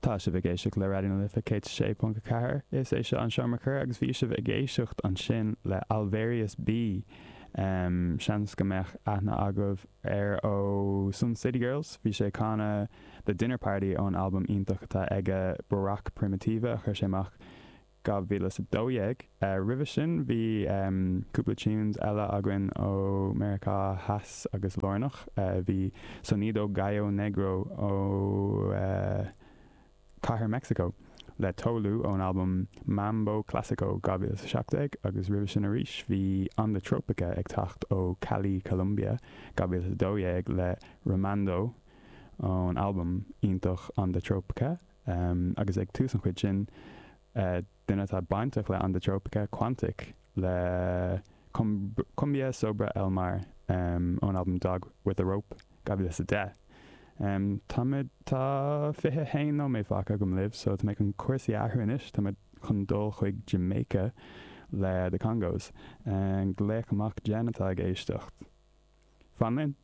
Tá sibh ag éisteacht le Raidió na Life 106.4. Is é seo an Seomra Comhrá agus bhí sibh ag éisteacht ansin le Alvarius B. Seans go mbeadh aithne agaibh air ó Sun City Girls. Bhí sé ag canadh The Dinner Party ón albam iontach atá aige Barack Primitiva a chuir sé amach 2012. Roimhe sin bhí cúpla tunes eile againn ó Meiriceá Theas agus Lárnach. Bhí Sonido Gallo Negro ó Cathair Mexico le Tolu ón albam Mambo Classico 2017 agus roimhe sin arís bhí Onda Tropica ag teacht ó Cali, Colombia 2012 le Rimando ón albam iontach Onda Tropica. Agus ag tús an chuid sin, duine atá bainteach le Onda Tropica, Quantic, le Cumbia Sobre El Mar ón albam Dog With A Rope, 2010. Táimid, tá 21 nóiméad fágtha agam libh so tá mé chun cúrsaí a athrú anois, tá mé chun dul chuig Jamaica le The Congos. Glaoch amach Jen atá ag éisteacht. Fan linn!